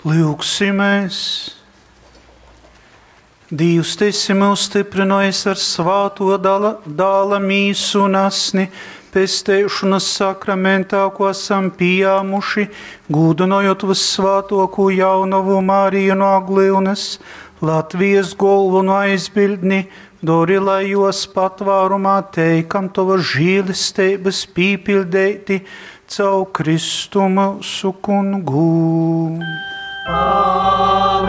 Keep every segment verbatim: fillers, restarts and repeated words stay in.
Lyugsimēs! Dīvs, Tu esi myus styprynojis ar svātuo dala, dāla mīsu un asni, pesteišonas sakramentā, ko esam pījāmuši, gūdynojot vyssvātuokū jaunovu Mariju no Aglyunas, Latvijas golvonu aizbildni, dori, lai juos patvārumā teikam Tovas žēlesteibys pīpiļdeiti caur Kristu myusu kungu. Amen.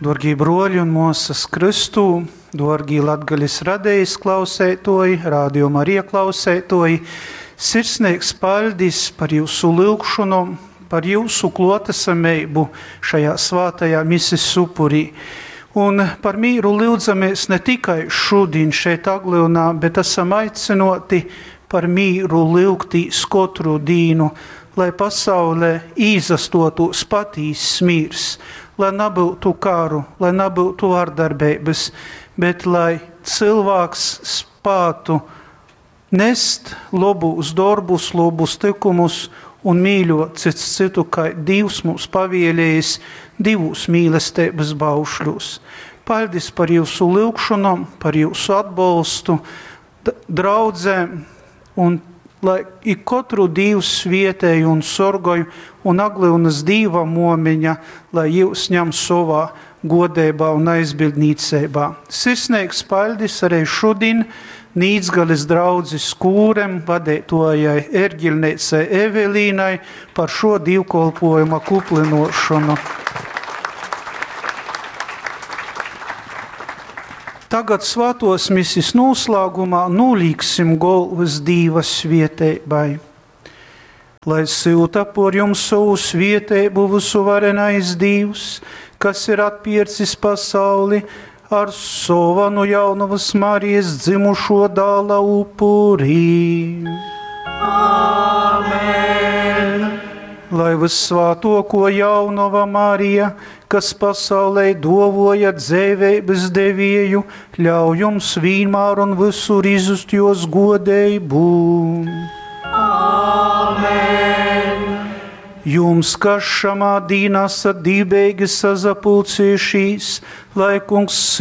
Dārgie broļi un māsas Kristū, dārgie Latgales radijas klausētoji, Radio Marija klausētoji, sirsnīgs paļdis par jūsu lyugšanu, par jūsu klotesamību šajā svātajā mises upurī. Un par mīru lyudzamies ne tikai šodien šeit Aglyunā, bet esam aicinoti par mīru lyugtīs kotru dīnu, lai pasaulē īzastotos patīss mīrs, lai nebūtu karu, lai nebūtu vardarbības, bet lai cilvēks spātu nest lobus dorbus, lobus tikumus un mīļot cits citu, kā Dievs mums pavielējis divus mīlestības baušļus. Paldies par jūsu lyugšanom, par jūsu atbalstu, draudzēm, un lai ik katru Dievs svietēj un sorgoj, un Aglyunas Dīva momiņa, lai jūs ņem savā godībā un aizbildnīcībā. Sirsnīgs paļdis arī šodien Nīcgales draudzes kūrem, vadētojai Erģilniecei Evelīnai par šo divkolpojuma kuplinošanu. Tagad svātos misis noslēgumā nolīksim golvas Dīva svieteibai. Lai silta por jums savu svieteibu visuvarenais Dīvs, kas ir atpircis pasauli ar sova no jaunavas Marijas dzimušo dāla upurī. Amen. Lai vissvātoko jaunava Marija, kas pasaulē dovoja dzēveibas devieju, ļauj jums vienmēr un visur izust jos godeibu. Amen. Jums, kas šamā dīnā esat dībeigi sazapulcējušies, lai kungs